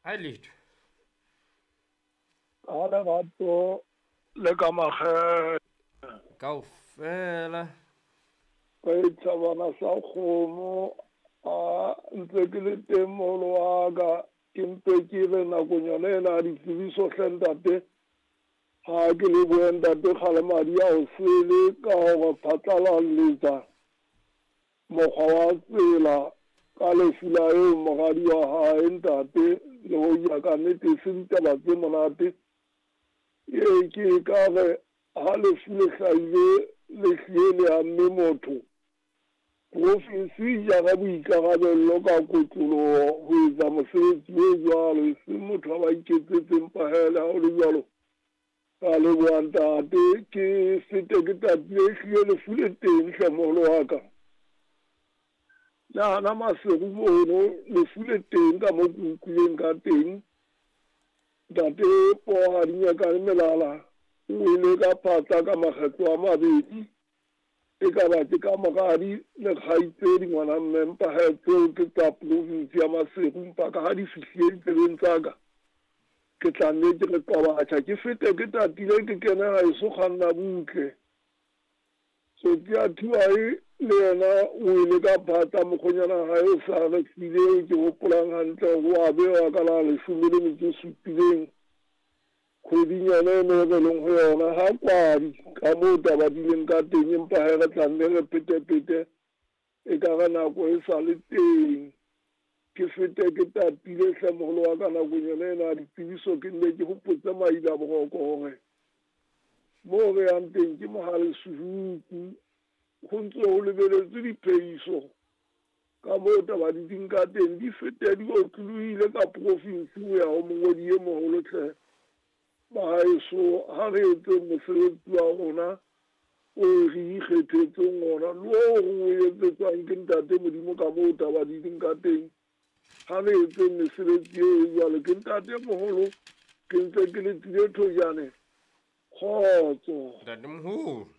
Ha letho. Ka lerato le ka makgethe. Kaofela. Re thabana sa kgomo a ntse ke le teng moholo wa ka ke mpe ke re nakong yona ena ya ditsebiso hle ntate ha ke lebohe ntate Kgalemadi ya o sele ka hore phatlalalletsa mokgwa wa tsela ka lefu la eo moradi wa hae ntate le hoja ka nnete e se ditaba tse monate ee ke ka re ha lefu le hlahile le hlile le amme motho profinsi e jara boikarabello ka kotloloho ho etsa mosebetsi o jwalo e seng motho a ba iketsetse empa hele ha o le jwalo ka leboha ntate ke fete ke tatile ehlile lefu le teng hle moholo wa ka le hana Maseru mono lefu le teng ka mo ke utlwileng ka teng ntate Poha Dinyakane Melala o wele ka phatla ka makgetlo a mabedi e ka ba ke ka moradi le kgaitsedi ngwana mme mpa he tseo ke tsa province ya Maseru mpa ka ha di fihlile ditsebeng tsa ka ke tla nne ke re qobatjha ke fete ke tatile ke kene haeso kganna butle Tsotsi ya Thibae le yena o wele ka phatla mokgonyana hae o sa re file eo ke hopolang hantle hore o a bewa ka la leshome le metso e supileng kgweding yona eno e re leng ho yona ha kwadi ka moo taba di leng ka teng empa he re tla nne re petepete e ka re nako e sa le teng ke fete ke tatile hle moholo wa ka nakong yona ena ya ditsebiso ke nne ke hopotse maila boroko hore moo re yang teng ke mohale Suhuku ho ntse ho lebeletswe diphehiso ka moo taba di ding ka teng di fete di otlolohile ka profinsi ho ya ho mongodi e moholo hle bahaeso ha re etseng mosebetsi wa rona o re ikgethetseng ona le oo re o etsetswang ke ntate Modimo ka moo taba di leng ka teng ha re etseng mesebetsi eo e jwalo ke ntate moholo ke ntse ke letile thojane kgotso Ntate moholo.